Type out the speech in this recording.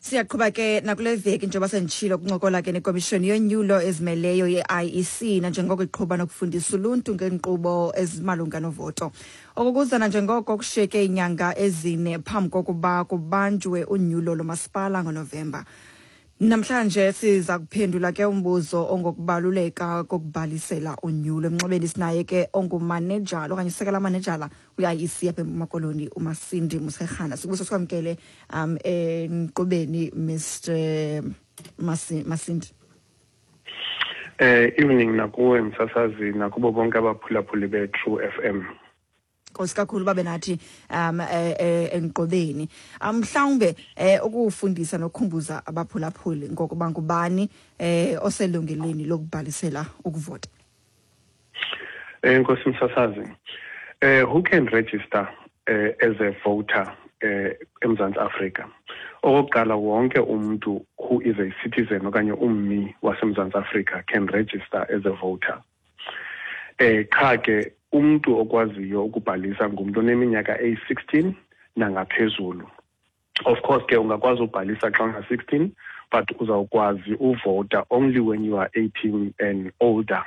Siyaqhuba ke nakule veki, njengoba senditshilo, kuncokola ke nekomishoni yonyulo ezimeleyo ye-IEC, nanjengoko iqhuba nokufundisa uluntu ngeenkqubo ezimalunga novoto. Okukuza nanjengoko kushiyeke iinyanga 4 phambi kokuba kubanjwe unyulo lomasipala ngoNovemba. Namhlanje siza kuphendula ke umbuzo ongokubaluleka kokubhalisela unyulo. Emnxebeni sinaye ke ongumanejala okanye usekela manejala kwi-IEC apha eMpuma Koloni, uMasindi Muserhana. Sikubuso sikwamkele enkqubeni, Mr Masindi. Evening nakuwe msasazi, nakubo bonke abaphulaphuli be-True FM. Nkosi kakhulu babe nathi enkqubeni. Mhlawumbe ukufundisa nokukhumbuza abaphulaphuli ngokuba ngubani oselungelweni lokubhalisela ukuvota. Nkosi msasazi, who can register as a voter eMzantsi Afrika? Okokuqala, wonke umuntu who is a citizen okanye ummi waseMzantsi Afrika can register as a voter. Qha ke umuntu okwaziyo ukubhalisa ngumuntu oneminyaka eyi-16 nangaphezulu. Of course ke ungakwazi ubhalisa xa una-16, but uzawukwazi uvota only when you are 18 and older.